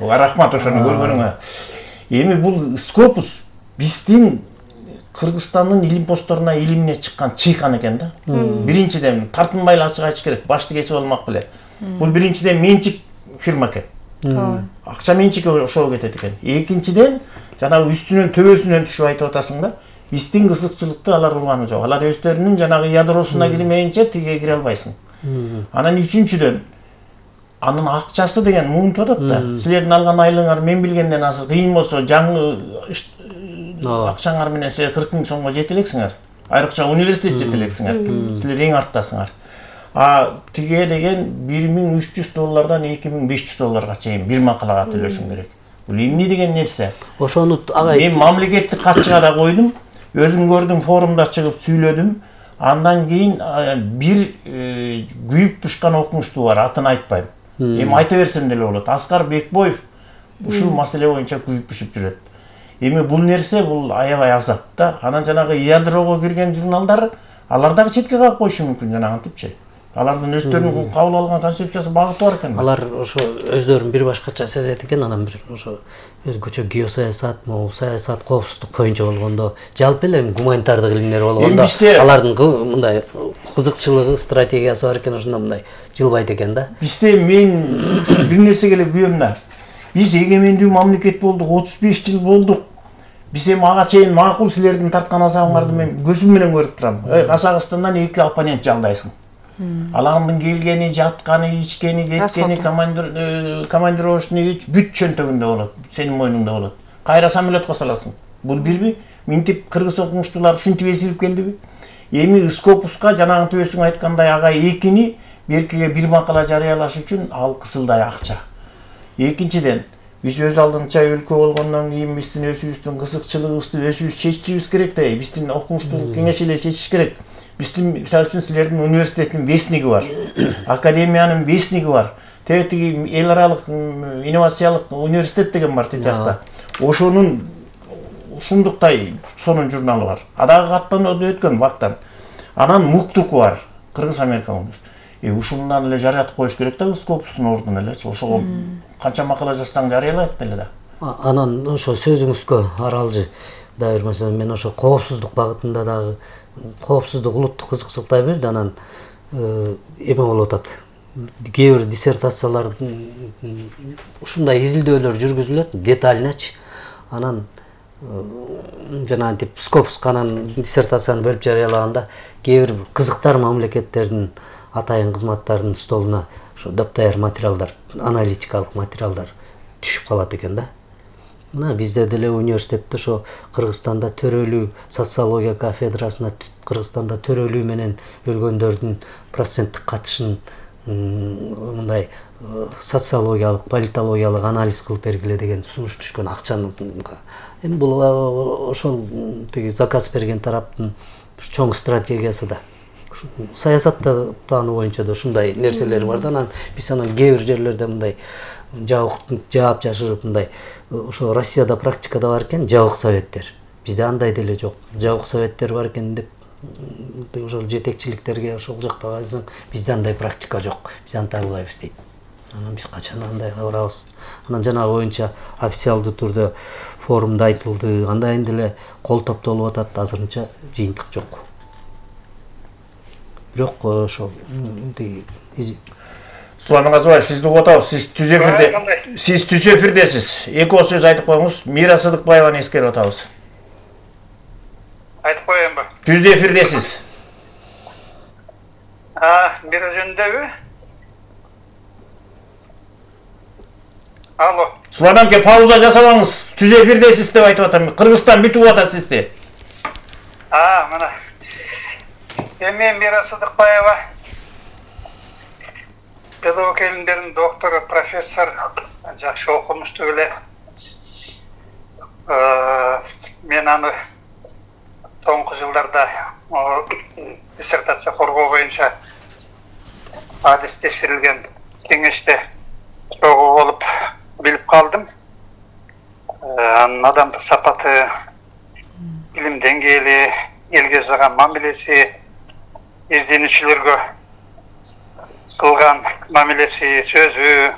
Рахмат ошону көргөнүңө. Эми бул Скопус биздин Кыргызстандын илим постторуна илимине чыккан чыйкан экен да. Биринчиден тартынбай эле ачык айтыш керек, башты кесип алмак беле. Бул биринчиден менчик фирма экен. Акча менчикке ошого кетет экен. Экинчиден жанагы үстүнөн төбөсүнөн түшүп айтып атасың да. Биздин кызыкчылыкты алар урганы жок. Алар өздөрүнүн жанагы ядросуна кирмейинче тиге кире албайсың. Анан үчүнчүдөн анын акчасы деген муунтуп атат да. Силердин алган айлыгыңар мен билгенден азыр кыйын болсо жаңы акчаңар менен силер 40 000 сомго жете элексиңер. Айрыкча университет жете элексиңер. Силер эң арттасыңар. Тиге деген $1300 $2500 чейин бир макалага төлөшүң керек. Бул эмне деген нерсе? Ошону агай мен мамлекеттик катчыга да койдум. Өзүм көрдүм, форумда чыгып сүйлөдүм. Андан кийин бир күйүп тушкан окумуштуу бар, атын айтпайм. Эми айта берсем деле болот. Аскар Бекбоев ушул маселе боюнча күйүп түшүп жүрөт. Эми бул нерсе бул аябай азап да. Анан жанагы ядрого кирген журналдар алар дагы четке калып коюшу мүмкүн жанагынтипчи. Алардын өздөрүнүн кабыл алган концепциясы багыты бар экен. Алар ошо өздөрүн бир башкача сезет экен, анан бир ошо өзгөчө геосаясат, саясат, коопсуздук боюнча болгондо, жалпы эле гуманитардык илимдер болгондо алардын мындай кызыкчылыгы, стратегиясы бар экен, ошондо мындай жылбайт экен да. Бизде мен бир нерсеге эле күйөм да. Биз эгемендүү мамлекет болдук, 35 жыл болдук. Биз эми ага чейин макул силердин тарткан азабыңарды мен көзүм менен көрүп турам. Казакстандан 2 оппонент жалдайсың. Алардын келгени, жатканы, ичкени, кеткени, командировочный бүт чөнтөгүндө болот, сенин мойнуңда болот. Кайра самолетко саласың. Бул бирби, минтип кыргыз окумуштуулар ушинтип эсилип келдиби? Эми Скопуска жанагы төбөсүң айткандай ага экини беркиге бир макала жарыялаш үчүн ал кысылдай акча. Экинчиден, биз өз алдынча өлкө болгондон кийин биздин өзүбүздүн кызыкчылыгыбызды өзүбүз чечишибиз керек да. Биздин окумуштуулук кеңеш эле чечиш керек. Биздин мисалы үчүн силердин университеттин вестниги бар, академиянын вестниги бар. Тиги эл аралык инновациялык университет деген бар тиякта. Ошонун ушундуктай сонун журналы бар. Дагы каттанып өткөн вактан. Анан Муктуку бар, Кыргыз Америка университети. Ушундан эле жарыятып коюш керек да, Скопустун ордуна элечи. Ошого канча макала жазсаң жарыялайт деле да. Анан ошо сөзүңүзгө аралжы да бермесем, мен ошо коопсуздук багытында дагы коопсуздук улуттук кызыкчылыктай берди. Анан эме болуп атат. Кээ бир диссертациялар ушундай изилдөөлөр жүргүзүлөт, детальначы. Анан жанагынтип Скопуска анан диссертацияны бөлүп жарыялаганда кээ бир кызыктар мамлекеттердин атайын кызматтарынын столуна ошо доптаяр материалдар, аналитикалык материалдар түшүп калат экен да. Мына бизде деле университетте ошо Кыргызстанда төрөлүү социология кафедрасына Кыргызстанда төрөлүү менен өлгөндөрдүн проценттик катышын мындай социологиялык, политологиялык анализ кылып бергиле деген сунуш түшкөн акчаны. Эми бул ошол тиги заказ берген тараптын чоң стратегиясы да. Саясаттануу боюнча да ушундай нерселер бар да. Анан биз анан кээ бир жерлерде мындай жаап жашырып мындай ошо Россияда практикада бар экен, жабык советтер. Бизде андай деле жок. Жабык советтер бар экен деп ошол жетекчиликтерге ошол жакта айтсаң, бизде андай практика жок. Биз антай албайбыз дейт. Анан биз качан андай кылабыз? Анан жанагы боюнча официалдуу түрдө форумда айтылды. Андай деле кол топтолуп атат, азырынча жыйынтык жок. Бирок ошол Сулайман Казыбаев, сизди угуп атабыз. Сиз түз эфирдесиз. Эки сөз айтып коюңуз. Мира Сыдыкбаеваны эскерип атабыз. Айтып коеюнбу? Түз эфирдесиз. Мира жөнүндөбү? Алло. Сулайман ке, пауза жасабаңыз. Түз эфирдесиз деп айтып атам. Кыргызстан бүтүп атат сизди. Мына. Эми Мира Сыдыкбаева педагог илимдеринин доктору, профессор, жакшы окумуштуу эле. Мен аны соңку жылдарда диссертация коргоо боюнча адистештирилген кеңеште чогуу болуп билип калдым. Анын адамдык сапаты, илим деңгээли, элге жасаган мамилеси, изденүүчүлөргө кылган мамилеси, сөзү,